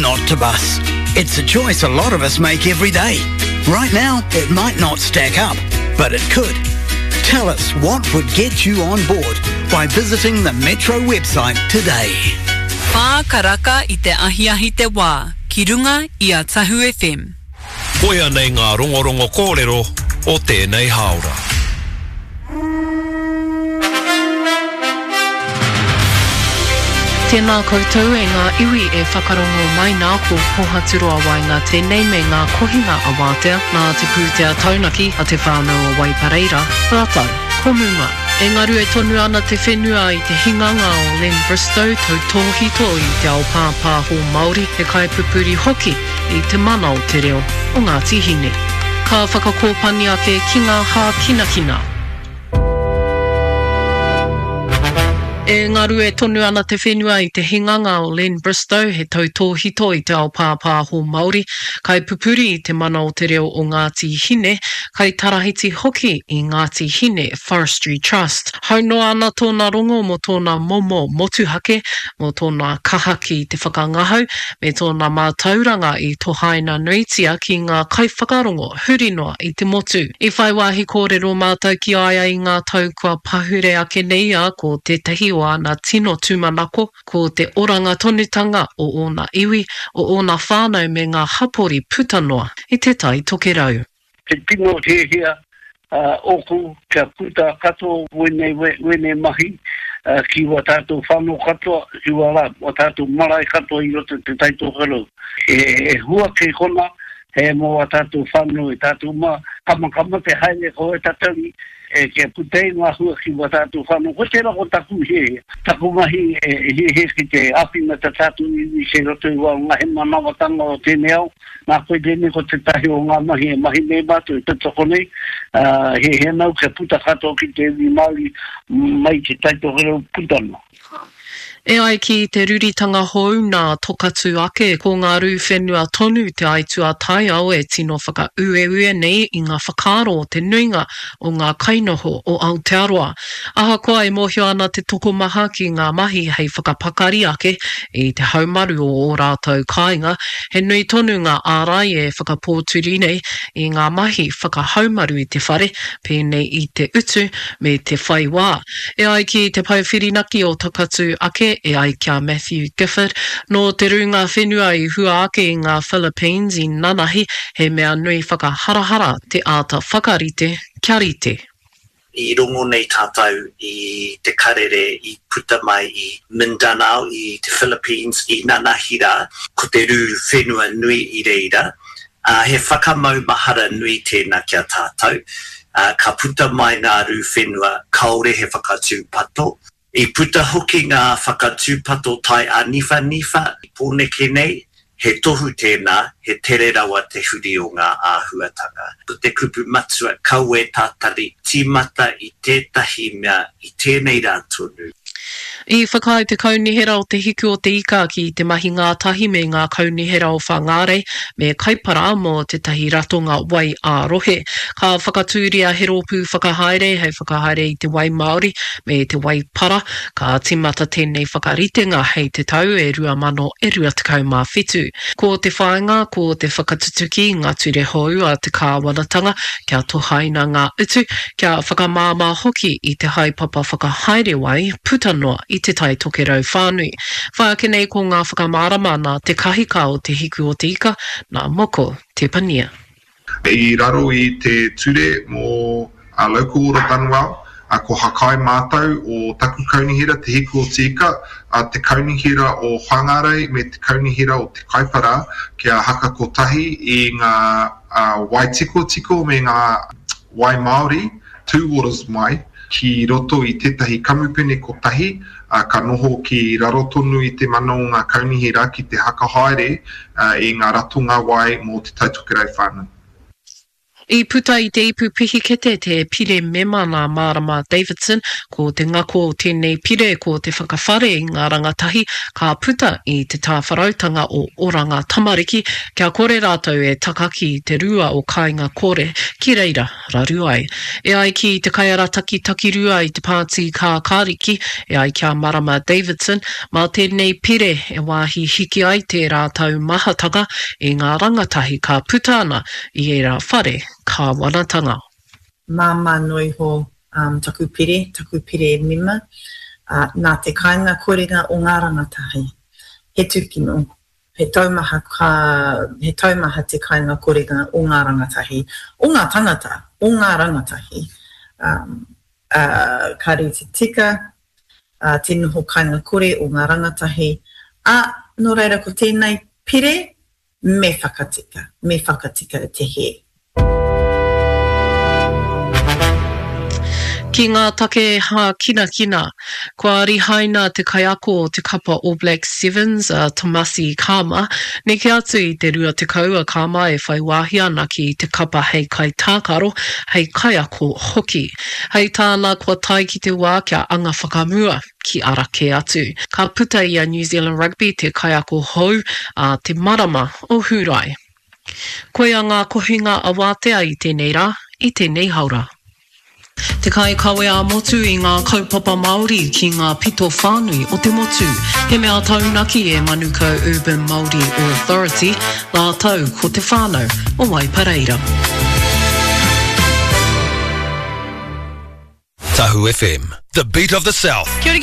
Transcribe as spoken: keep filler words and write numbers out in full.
not to bus. It's a choice a lot of us make every day. Right now, it might not stack up, but it could. Tell us what would get you on board by visiting the Metro website today. Whā karaka i te ahiahi te wā, ki runga i a Tahu F M. Koia nei ngā rongorongo kōrero o tēnei hāora. Tēnā koutou e ngā iwi e whakarongo mai nā, ko Pohaturoa Waenga tēnei me ngā kohinga a Wātea nā te pūtea taunaki a te whānau o Waipareira rātou ko Muma. E ngarue tonu ana te whenua i te hinganga o Len Bristow, tautōhito i te ao pāpāho Māori, he kaipupuri hoki i te mana o te reo o Ngāti Hine. Ka whakakōpani ake ki ngā hākinakina. E ngarue tonu ana te whenua i te hinganga o Len Bristow, he tautōhito i te ao pāpāho Māori, kaipupuri i te mana o te reo o Ngāti Hine, kaitarahiti hoki i Ngāti Hine Forestry Trust. Hau noa ana tōna rongo mō tōna momo motuhake, mō tōna kaha ki te whakangahau, me tōna mātauranga i tohaina nuitia ki ngā kaiwhakarongo huri noa i te motu. I whai wāhi kōrero mātou ki a ia i ngā tau kua pahure ake nei, ā, ko tētahi o āna tino tūmanako, ko te oranga tonutanga o ōna iwi, o ōna whānau me ngā hapori puta noa i Te Tai Tokerau. Te tino hiahia ōku kia puta katoa wēnei, wēnei mahi ki wā tātou whānau katoa, ki wā, wā tātou marae katoa i roto i Te Tai Tokerau. E hua kei kona, he mō wā tātou whānau e tātou mā, kamakama te haere ko e tatari, e kia puta ai ngā hua ki wā tātou whānau. Ko tērā ko taku hiahia, taku mahi e hiahia ki te āwhina tā tātou iwi kei roto i wā ngā hemanawatanga o tēnei ao. Nā koe tēnei ko tētahi o ngā mahi e mahi nei mātou e tautoko nei, ā, hiahia nāu kia puta katoa ki te iwi Māori mai i Te Tai Tokerau puta noa. E ai ki te ruritanga hou nā Tokatū ake, ko ngā rū whenua tonu te aituā taiao e tino whakaueue nei i ngā whakaaro o te nuinga o ngā kainoho o Aotearoa. Ahakoa e mōhio ana te tokomaha ki ngā mahi hei whakapakari ake i te haumaru o ō rātou kāinga, he nui tonu ngā ārai e whakapōturi nei i ngā mahi whakahaumaru i te whare, pēnei i te utu me te whai wā. E ai ki te pae whirinaki o Takatū ake, e ai ki a Matthew Gifford, nō te rūnga whenua i hua ake i ngā Philippines i nanahi, he mea nui whakaharahara te āta whakarite kia rite. I rongo nei tātou i te karere i puta mai i Mindanao i te Philippines i nanahi rā, ko te rū whenua nui i reira, ā, he whakamaumahara nui tēnā ki a tātou, ā, ka puta mai ngā rū whenua kāore he whakatūpato. I puta hoki ngā whakatūpato tai āniwhaniwha i Pōneke nei, he tohu tēnā, he tere rawa te huri o ngā āhuatanga. Ko te kupu matua, kaua e tātari, tīmata i tētahi mea i tēnei rā tonu. I whakaae te Kaunihera o Te Hiku o Te Ika ki te mahi ngātahi me ngā kaunihera o Whangārei me Kaipara mō tētahi ratonga wai ā-rohe. Ka whakatūria he rōpū whakahaere hei whakahaere i te wai māori me te wai para. Ka tīmata tēnei whakaritenga hei te tau e rua mano e rua tekau mā whitu. Ko te whāinga ko te whakatutuki i ngā ture hou a te kāwanatanga kia tohaina ngā utu, kia whakamāmā hoki i te haepapa whakahaere wai puta noa i Te Tai Tokerau whānui. Whai ake nei ko ngā whakamārama nā te kahika o Te Hiku o Te Ika, nā Moko Tepania. I raro i te ture mō Local Order Dunwell, ko Hakai mātou o taku kaunihera Te Hiku o Te Ika, te kaunihera o Whangarei me te kaunihera o Te Kaipara kia haka kotahi i ngā wai tikotiko me ngā wai māori, two waters mai, ki roto i tētahi kamupene kotahi, ā, ka noho ki raro tonu i te mana o ngā kaunihera ki te haka haere i ngā ratonga wai mō Te Tai Tokerau whānui. I puta i te ipu pihikete te pire mema nā Marama Davidson, ko te ngako o tēnei pire ko te whakawhare i ngā rangatahi ka puta i te tāwharautanga o Oranga Tamariki kia kore rātou e takaki i te rua o Kāinga Kore ki reira raru ai. E ai ki te kaiarataki takirua i te Pāti Kākāriki, e ai ki a Marama Davidson, mā tēnei pire e wāhi hiki ai tērā taumahatanga i ngā rangatahi ka puta ana i ērā whare kāwanatanga. Māmā noa iho um, taku pire, taku pire mema, uh, nā te kāinga korenga o ngā rangatahi. He tūkino, he taumaha, ka, he taumaha te kāinga korenga o ngā rangatahi, o ngā tangata, o ngā rangatahi. Um, uh, ka rite tika, uh, te noho kāinga kore o ngā rangatahi. Ā, nō reira ko tēnei pire, me whakatika, me whakatika te hē. Ki ngā take hākinakina, kua rihaina te kaiako o te kapa All Blacks Sevens a Tomasi Cama, neke atu i te rua tekau a Cama e whai wāhi ana ki te kapa hei kaitākaro, hei kaiako hoki. Hei tāna kua tae ki te wā kia anga whakamua ki ara kē atu. Ka puta i a New Zealand Rugby te kaiako hou ā te marama o Hūrae. Koia ngā kohinga awātea i tēnei rā, i tēnei haora. Te kaikawe ā-motu i ngā kaupapa Māori ki ngā pito whānui o te motu. He mea taunaki e Manukau Urban Māori Authority rātou ko te whānau o Waipareira. Tahu F M, the beat of the South. Kia ora, kia ora.